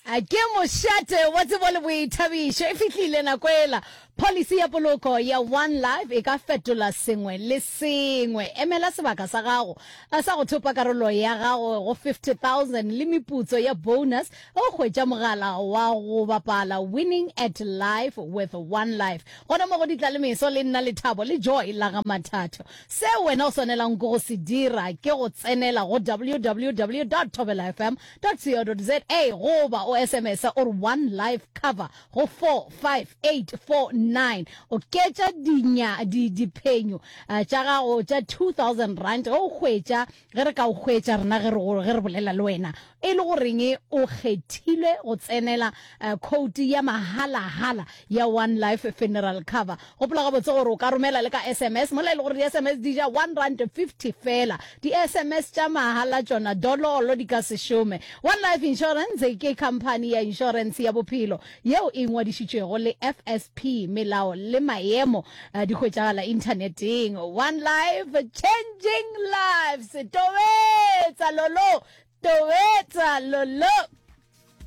Ke mošate wa tsebo le boithabišo. E fihlile nako ela. Pholisi ya poloko ya One Life e ka fetola sengwe le sengwe. Emela sebaka sa gago sa go thopa karolo ya gago go 50,000 le meputso ya bonus ge o hwetša mogala wa go bapala Winning at Life with One Life. Gona mo go Ditlalemeso le nna Lethabo le Joy la ga Mathatho. Se wena o swanelang ke go se dira ke go tsenela go www dot thobelafm dot co dot za goba o SMS o re One Life Cover go 45849. Oketša dinya, di, diphenyo tša gago tša R2000 ge o hwetša, ge re ka o hwetša rena ge re, ge re bolela le wena e le goreng o kgethilwe go tsenela khoutu ya mahalahala ya One Life Funeral Cover. Gopola gabotse gore o ka romela le ka SMS, mola e le gore di-SMS di ja R1.50 feela. Di-SMS tša mahala tšona dololo di ka se šome. One Life Insurance ke khamphani ya inšorense ya bophelo yeo e ngwadišitšwego le FSP. Melao le maemo di hwetšagala inthaneteng. One Life, changing lives. Tobetsa lolo, tobetsa lolo.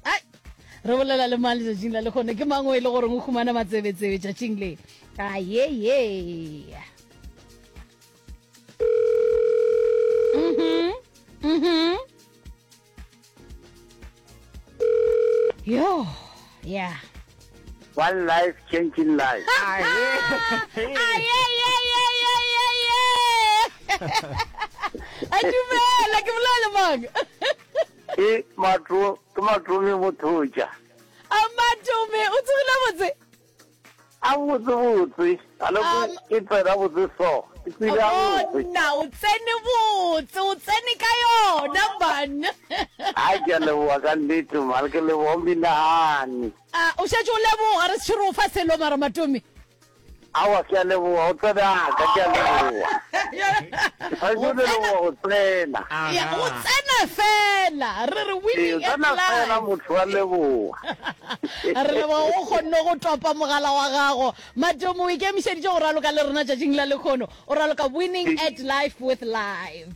Ai, re bolela le mang letšatšing la lekgono? Ke mang o e le goreng o humana matsebetsebe tšatšing le? Ayeye. Mhm. Mhm. Yo, yeah. One life changing life. A dumela ke bolela le mang? Ke matro ke matome mothotša. A matome o tsogile botse? A botse botse. A le ke tsena botse so. Ke tsile a botse. Bona o tsene botse, o tsene ka yona man. A ke a leboga ka nnete man, ke leboga minahane. A o šetše o leboga re se re o fa selo mara matome. Aowa, ke a leboga, o tsene aka, ke a leboga. Ke swanetše go leboga go tsena. Ya, go tsena fela, re re Ee, winning at tsena fela life. motho wa leboga. Re leboga o kgonne go topa mogala wa gago. Matomo, o ikemišeditše go raloka le rena tšatšing la lekhono. O raloka Winning at Life with Live.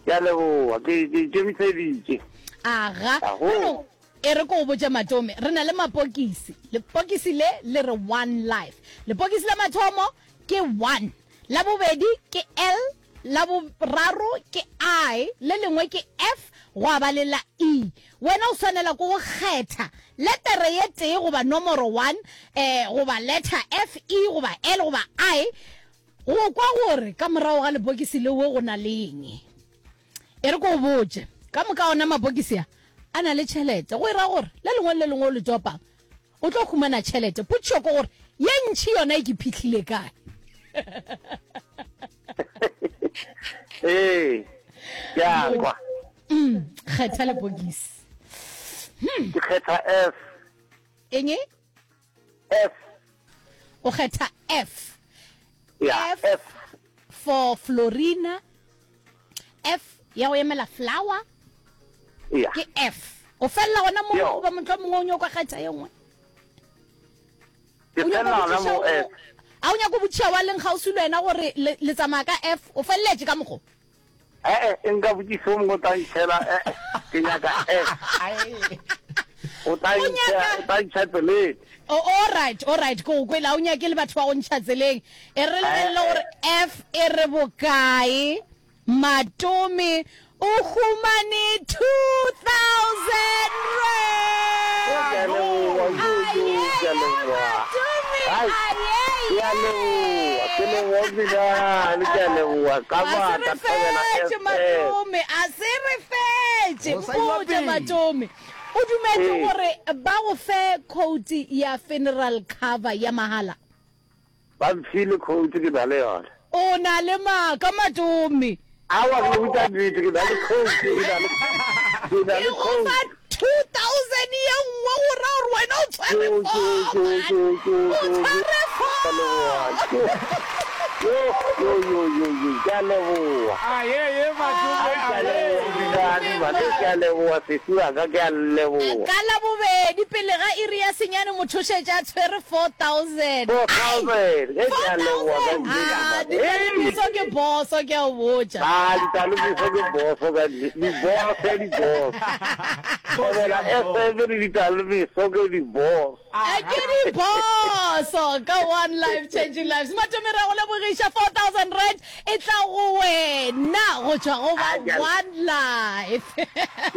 Ke a leboga, ke ke ikemišeditše. Aga. Ago. Bjalo, e re ko o botše Matome, re na le mapokisi. Lepokisi le le re One Life. Lepokisi la mathomo ke one, la bobedi ke L, la boraro ke I, le lengwe ke F, gwa ba le la E. Wena o swanela ke go kgetha letere ye tee goba nomoro one, eh, goba letter F, E goba L goba I, Go kwa gore ka morago ga lepokisi leo go na le eng. E re ke go botše, ka moka ona mapokisi a a na le tšhelete. Go e ra gore le lengwe le le lengwe o le topang o tlo humana tšhelete. Potšišo ke gore ye ntši yona e ke phihlile kae? Ee, ke a kwa. Mm, kgetha lepokisi. Ke kgetha F. Eng? F. O kgetha F. Ya, F, F. for Florina. F ya go emela flower. Ya. Ke F. O felela gona moo Yo. goba mohlomongwe o nyoko kgetha ye nngwe? Ke O nyako felela gona botšiša moo o- F. A o nyako botšiša wa leng kgauswi le wena gore le, le tsamaya ka F? O feleletše ka mokgo? Ee, e nka botšiša o mongwe o tla ntšhela, ee, ke nyaka F. O tla O ntšha, nyaka- o tla ntšha tseleng. Oh, all right, all right, ke go kwele, a o nyake le batho ba go ntšha tseleng. E re lebelele gore F e re bokae. Matome o humane 2000 Ke a rand. leboga, kudu, ke a Ayeye, leboga. Matome, Ai, ke a leboga, ke leboga binane, ke a leboga. Ka A se maatla, re Thobela fetše FM. Matome, a se re fetše. Go sa iwa Mpotše pele. Matome, o dumetše Ee. gore ba go fe quote ya funeral cover ya mahala? Ba mphile quote, ke na le yona. O na le maaka Matome. Aowa, ke le botša nnete, ke na le quote, ke na le, ke na Ke le go quote. fa 2000 ye nngwe go ra gore wena o tshwere Yo, four, yo, man. yo, yo, O yo, yo, tshwere ke a leboga. four. Yo, yo, yo, yo, yo, ke a leboga. Ayeye Matome, Ke a leboga, ayeye. Dinane, man, ke a leboga, sesi wa ka, ke a leboga. Ka Labobedi. Pedi pele ga iri ya senyane motho o šetše a tshwere 4000. 4000 ge ke a leboga ka 4000! Ah, ditalebiso ke boso ke a o botša. Ah, ditalebiso ke boso ka nnete. Di-boss, di-boss. Thobela FM le ditalebiso ke di-boss. A ke di-boso ka One Life Changing Lives. Matome re a go lebogiša 4000 rand E tla go wena go tšwa go ba One Life.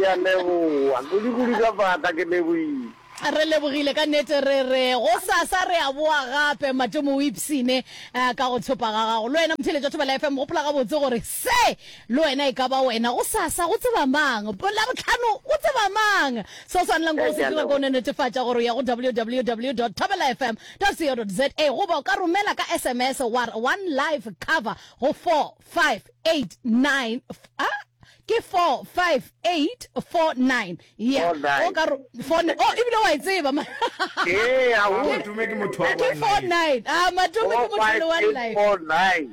Ke a leboga kudu-kudu ka maatla ke lebohile. Re lebogile ka nnete re re gosasa re a boa gape Matomo o ipshine ka go thopa ga gago. Le wena motheeletši wa Thobela FM gopola gabotse gore se le wena e ka ba wena gosasa go tseba mang, Labohlano go tseba mang. Se o swanelang ke go se dira ke go no netefatša gore o ya go www dot thobelafm .co.za goba o ka romela ka SMS wa re one life cover go 4589 ah ke 45849 ya o ka ro 4 oh ebile wa e tseba ma ee a go Matome ke motho wa ke 49 ah Matome ke motho le one life 49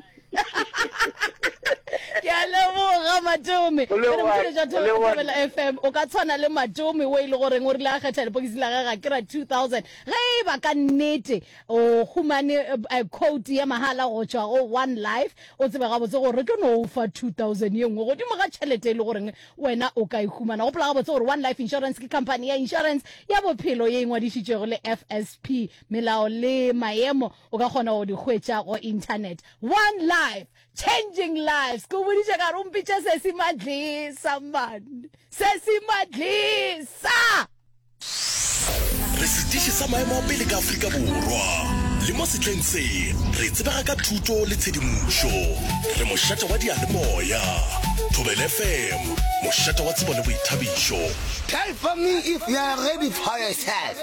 ke a leboga Matome Thobela FM o ka tshwana le Matome o e le goreng o rile a kgetha lepokisi la gage ga ke ra 2000 Ge e ba ka nnete o humane quote ya mahala go tšwa go One Life, o tsebe gabotse gore re tlo no o fa 2000 ye nngwe godimo ga tšhelete e le goreng wena o ka e humana. Gopola gabotse gore One Life Insurance ke khamphani ya insurance ya bophelo ye e ngwadišitšwego le FSP. Melao le maemo o ka kgona go di hwetša go internet. One Life, changing lives. Ke o boditše ka re o mpitše Sesi Madlisa man. Sesi Madlisa! Re setiši sa maemo a pele ka Afrika Borwa. Le mo sehleng se, re tsebega ka thuto le tshedimošo. Re mošate wa diyalemoya. Thobela FM, mošate wa tsebo le boithabišo. Type for me if you are ready for yourself.